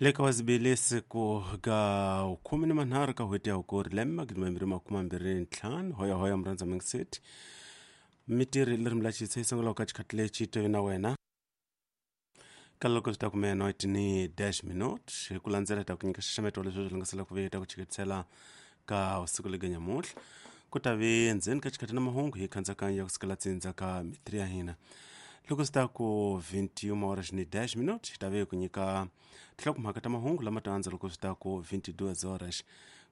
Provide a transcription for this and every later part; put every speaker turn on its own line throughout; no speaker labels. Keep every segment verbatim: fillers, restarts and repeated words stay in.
Le ka wazibili siku ga khume ni manharhu ka n'hweti ya hukuri lembe magidi mambirhi makume mambirhi ntlhanu hoya hoya murhandza mingiseti mitirhi leri lachitsa yi sungulaka ka xikhathi lexi twe na wena ka loko swi ta kumela noiti ni dash minute hi ku landzela ta ku nyika xaxameto wa leswi swi lungisela ku ve ta ku chiketisela ka usiku lega nyamuhla ku ta ve ndzeni ka xikhathi na mahungu hi khandzakanya ya kusukela tsindza ka mitiri ya hina loko swi ta ku vintiun horas ni dez minutos hi ta ve ku nyika tinhlokomhaka ta mahungu lama ta andza loko swi ta ku vintiduas horas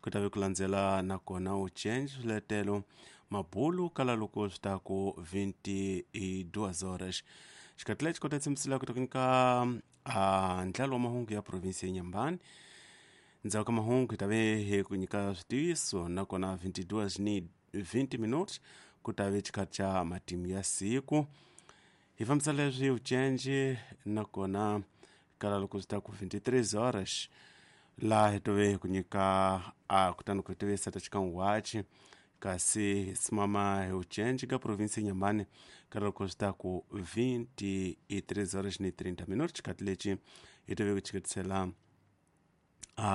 ku ta ve ku landzela nakona u change swiletelo mabulu kala loko swi ta ku vintiduas horas xikhathi lexi kota tshembisela ku ta ku nyika ah, ndlalo wa mahungu ya provinsi ya Nyambani ndzhaku ka mahungu hi ta ve hi ku nyika switiviso nakona vintiduas ni vinti minutos ku ta ve xikhathi xa matimu ya siku hi fambisa leswi ucenji nakona kala loko swi ta ku vintitrês horas laha hi tove hi ku nyika a kutani ku tivisa ta xikan'wachi kasi hi simama hi ucenji ka provinsi ya Nyambani kala loko swi ta ku vintitrês horas ni trinta minutos xikhathi lexi hi tove ku chiketisela a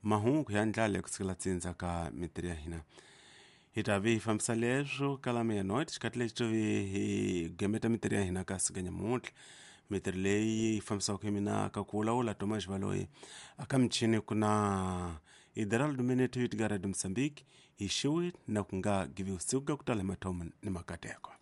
mahungu ya ndlala ya kusukela tsindza ka mitiri ya hina hi ta ve hi fambisa leswo kala meia-noite xikhathi lexi to ve hi gemeta mitiri ya hina ka siku nyamuntlha mitiri leyi yi fambisaka hi mina ka ku vulavula Thomas Baloyi aka michini ku na Hideraldo Minete yo tika Radio Mozambique hi xiwi na ku nga givi usiku ka ku tala hi mathomo ni makateko.